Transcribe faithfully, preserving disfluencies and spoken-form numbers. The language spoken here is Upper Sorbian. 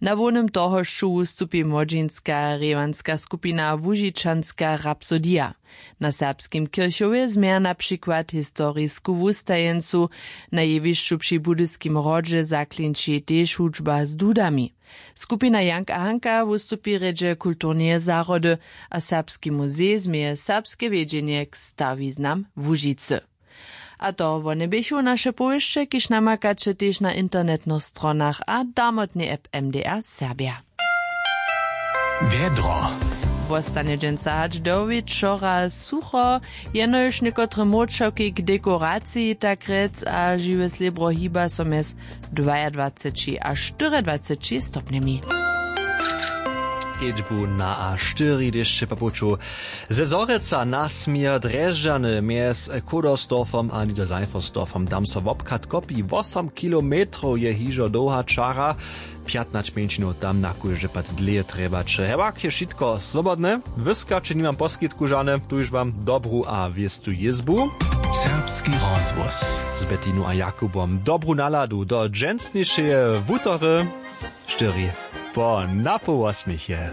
Na hłownym tohošću wustupi młodźinska rěwanska skupina Łužičanska rapsodija. Na serbskim kirchowje změja na přikład historisku wustajeńcu. Na jewišću při budyskim hrodźe zaklinči tež hudźba z dudami. Skupina Jank a Hanka wustupi rjedźe kulturneje zahrody, a serbski muzej změje serbske wjedźenje k stawiznam Łužicy. A to wone běchu naše powěsće, kiž namakaće tež na internetnych stronach a damotnej app M D R Serbja. Wjedro. Wostanje dźensa hač do wječora sucho, jenož někotre młóčoki k dekoraciji, tak rjec, a žiwe slěbro hiba so mjez dwajadwaceći a štyriadwaceći stopnjemi. Kedźbu na a štyri dešće po puću ze Zhorjelca na směr Drježdźany mjez Kudersdorfom a Niederseifensdorfom. Tam so wobchad kopi. Wosom kilometrow je hižo dołha čara. Pjatnaće mjeńšinow tam na kóždy pad dlěje trjebaće. Hewak je wšitko swobodne. Wyskaće nimam poskitku žane. Tuž wam dobru a wěstu jězbu. Serbski rozhłos z Betinu a Jakubom. Dobru naladu do dźensnišeje wutory. Štyri po napoł wosmich je.